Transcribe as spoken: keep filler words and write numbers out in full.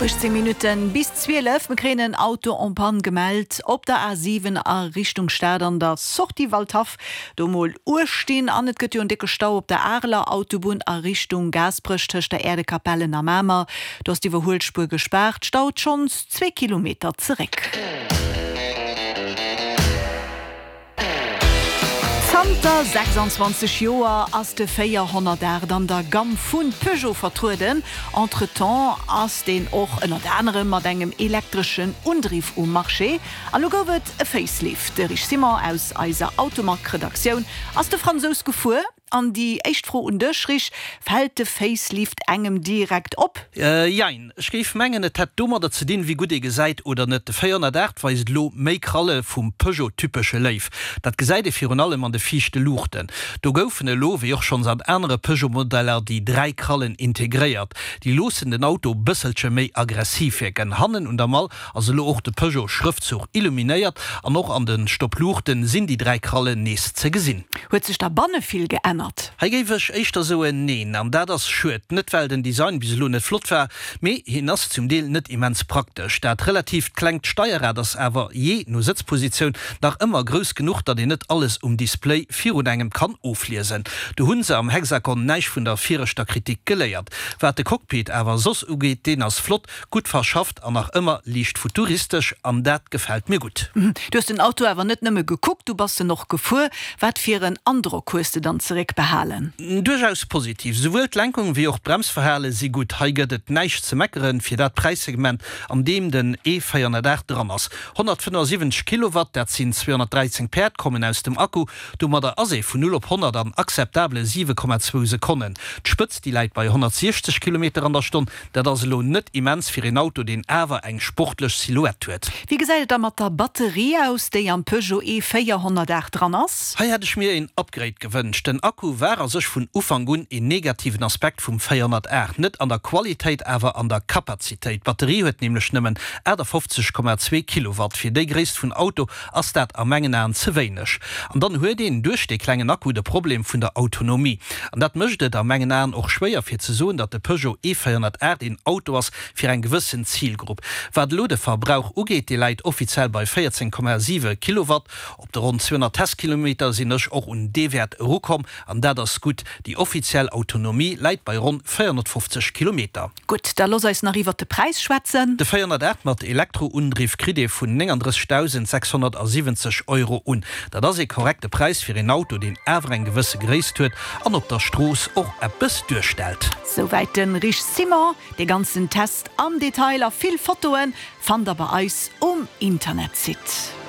Uechtzéng Minutten bis zwielef, Mir kréien en Auto en panne gemellt op der A siwen a Richtung Stad an der Sortie Waldhaff. Do mol uecht dinn an et gëtt jo en décke Stau op der Areler Autobunn a Richtung Gaasperech tëscht der Äerdekapellen a Mamer. Do ass d'Iwwerhuelspuer gespaart, staut schonns zwee Kilometer zeréck. Zanter sechsanzwanzeg Joer ass de véierhonnertaacht an der Gamm vu Peugeot vertrueden. Entretemps ass deen och ënnert anerem mat engem elektreschen Undriff um Marché. A lo gouf et e Facelift. De Rich Simon aus eiser Automag-Redaktioun ass de Fransous gefuer. An déi éischt Fro un dech, Rich, Fält de Facelift engem direkt op? Jein. Ech géif mengen, et hätt domadder ze dinn, wéi gutt ee gesäit oder net. De véierhonnertaacht weist elo méi Kralle vum Peugeot-typesche Léiw. Dat gesäit ee virun allem an de viischte Luuchten. Do goufen elo, wéi och schonns an anere Peugeot-Modeller, déi dräi Krallen integréiert. Déi loossen den Auto bësselche méi aggressiv wierken. Hannen un der Mall ass elo och de Peugeot-Schrëftzuch illuminéiert an och an de Stoppluuchten sinn déi dräi Krallen nees ze gesinn. Huet sech da banne vill geännert? Hei géif ech éischter soen neen, an dat ass schued. Net well den Design bis elo net flott war, mee hien ass zum Deel net immens praktesch. Dat relatiivt klengt Steierrad ass awer jee no Sëtzpositioun nach ëmmer grouss genuch, datt een net alles um Display virun engem kann ofliesen. Do hunn se am Hexagon näischt vun der viregter Kritik geléiert. Wat de Cockpit awer soss ugeet, deen ass flott, gutt verschafft an nach ëmmer liicht futuristesch, an dat gefält mir gutt. Du hues den Auto awer net nëmme gekuckt, du bass en och gefuer. Wat fir en Androck hues de dann zeréck behalen? Duerchaus positiv. Souwuel d'Lenkung wéi och d'Bremsverhale si gutt. Hei gëtt et näischt ze meckeren fir dat Präissegment an deem den E véierhonnertaacht dran ass. honnertfënnefensiwwenzeg Kilowatt, dat sinn zweehonnertdräizéng Päerd, kommen aus dem Akku. Domadder ass ee vun null op honnert an akzeptabele siwe Komma zwou Sekonnen. D'Spëtzt, déi läit bei honnertsiechzeg Kilometer an der Stonn. Dat ass elo net immens fir een Auto, deen awer eng sportlech Silhouette huet. Wéi gesäit et da mat der Batterie aus, déi am Peugeot E véierhonnertaacht dran ass? Hei hätt ech mir een Upgrade gewënscht. Den Akku war a sech vun Ufank un een negativen Aspekt vum véierhonnertaacht, net an der Qualitéit, awer an der Kapazitéit. D'Batterie huet nämlech nëmmen achtafofzeg Komma zwee Kilowatt. Fir déi Gréisst vun Auto ass dat a mengen Aen ze wéineg. An dann huet een duerch dee klengen Akku de Problem vun der Autonomie. An dat mécht et a mengen Aen och schwéier fir ze soen, datt de Peugeot E véierhonnertaacht een Auto ass fir eng gewëssen Zilgrupp. Wat elo de Verbrauch ugeet, dee läit offiziell bei véierzéng Komma siwe Kilowatt. Op de ronn zweehonnert Testkilometer sinn ech och un dee Wäert erukomm, an dat ass gutt. Déi offiziell Autonomie läit bei ronn véierhonnertfofzeg Kilometer. Gutt, da looss eis nach iwwert de Präis schwätzen. De véierhonnertaacht mat Elektroundriff kritt ee vun nénganddrëssegdausend sechshonnertsiwwenzeg Euro un. Dat ass ee korrekte Präis fir een Auto, deen awer eng gewësse Gréisst huet an op der Strooss och eppes duerstellt. Souwäit de Rich Simon. Dee ganzen Test am Detail a vill Fotoen fannt der bei eis um Internetsite.